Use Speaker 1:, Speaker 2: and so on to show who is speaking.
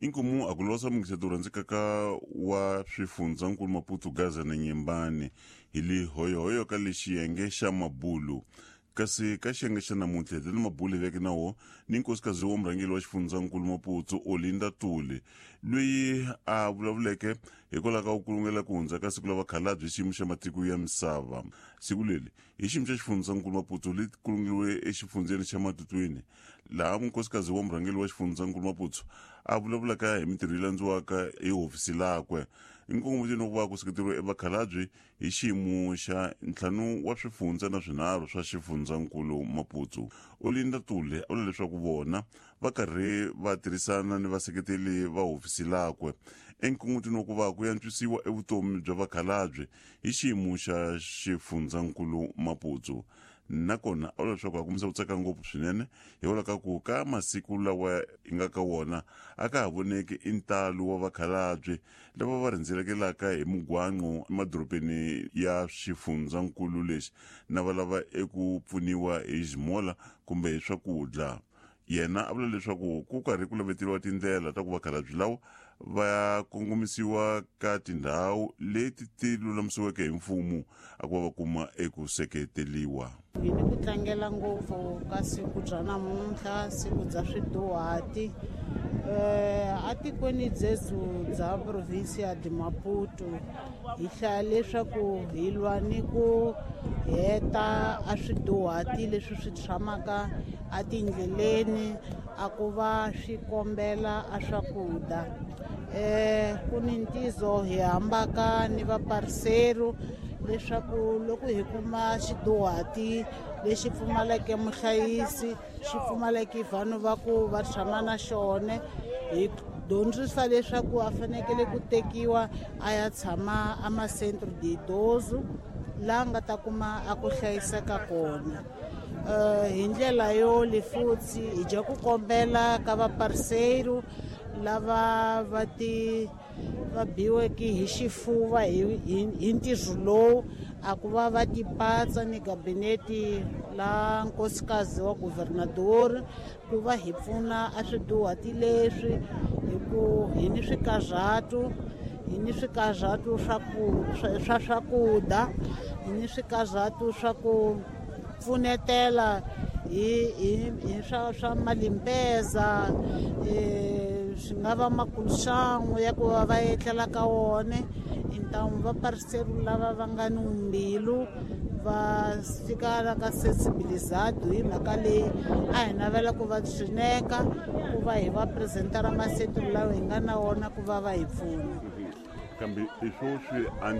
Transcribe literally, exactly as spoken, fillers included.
Speaker 1: Inkomu a ku losa mungiseto rhandzekaka wa swifundzankulu Maputo, Gaza na Nyembani hi le hoyohoyo ka le xiyenge xa mabulu. Kasi ka xiyenge xa namuntlha hi tele mabulu hi veke na wo ni nkosikazi wa murhangeri wa xifundzankulu Maputo, Olinda Tuli, loyi a vulavuleke hikwalaho ka ku kulungela ku hundza ka siku la vakhalabye hi xiyimo xa matiko ya misava. Siku leri hi xiyimo xa xifundzankulu Maputo li kulungeriwe exifundzeni xa Matutwini, laha nkosikazi wa murhangeri wa xifundzankulu Maputo a vulavulaka hi mintirho yi landziwaka hi hofisi lakwe nkongomisweni wa ku va ku seketeriwa evakhalabye hi xiyimo xa ntlhanu wa swifundza na swinharhu swa xifundzankulu Maputo. Olinda Tuli a vula leswaku vona va karhi va tirhisana ni vaseketeli va hofisi lakwe enkongotweni wa ku va ku antswisiwa evutomi bya vakhalabye hi xiyimo xa xifundzankulu Maputo. Nakona a vula leswaku a kombisa ku tsaka ngopfu swinene hikwalaho ka ku ka masiku lawa hi nga ka wona a ka ha voneki i ntalo wa vakhalabye lava va rhendzelekelaka hi mugwanqo emadorobeni ya xifundzankulu lexi na va lava eku pfuniwa hi ximola kumbe hi swakudya. Yena a vula leswaku ku karhi ku laveteriwa tindlela ta ku vakhalabye lawa va kongomisiwa ka tindhawu leti ti lulamisiweke hi mfumo a ku va va kuma eku seketeliwa.
Speaker 2: Hi ni ku tlangela ngopfu ka siku bya namuntlha, siku bya swiduhati um atikweni dzezu bya provinsia de Maputo. Hi hlaya leswaku hi lwa ni ku heta a swiduhati leswi swi tshamaka atindleleni a ku va swi kombela a swakudya. um ku ni ntizo hi hambaka ni vaparseru leswaku loko hi kuma xiduhati lexi pfumaleke muhlayisi, xi pfumaleke vanhu va ku va tshama na xona, hi dyondzisa leswaku a fanekele ku tekiwa a ya tshama ama-centro de idoso laha nga ta kuma a ku hlayiseka kona. um hi ndlela yo le futhi hi dya ku kombela ka vaparseru lava va ti va biweke hi xifuva hi hi ntirho lowu a ku va va tipatsa ni gabinete la nkosikazi wa governador ku va hi pfuna a swiduhati leswi, hi ku hi ni swikarhatu, hi ni swikarhatu swa ku swa swakudya, hi ni swikarhatu swa ku pfunetela hi hi hi swa swa malimpeza, um swi nga va makuluxangu ya ku va va etlela ka wona. Então va parceiro lava va nga ni mbilu va fika la ka sensibilizado hi mhaka leyi a hi navela ku va tshineka ku va hi va presentara masetulu lawa hi nga na wona ku va va hi pfuna.
Speaker 1: Kambe i swo swi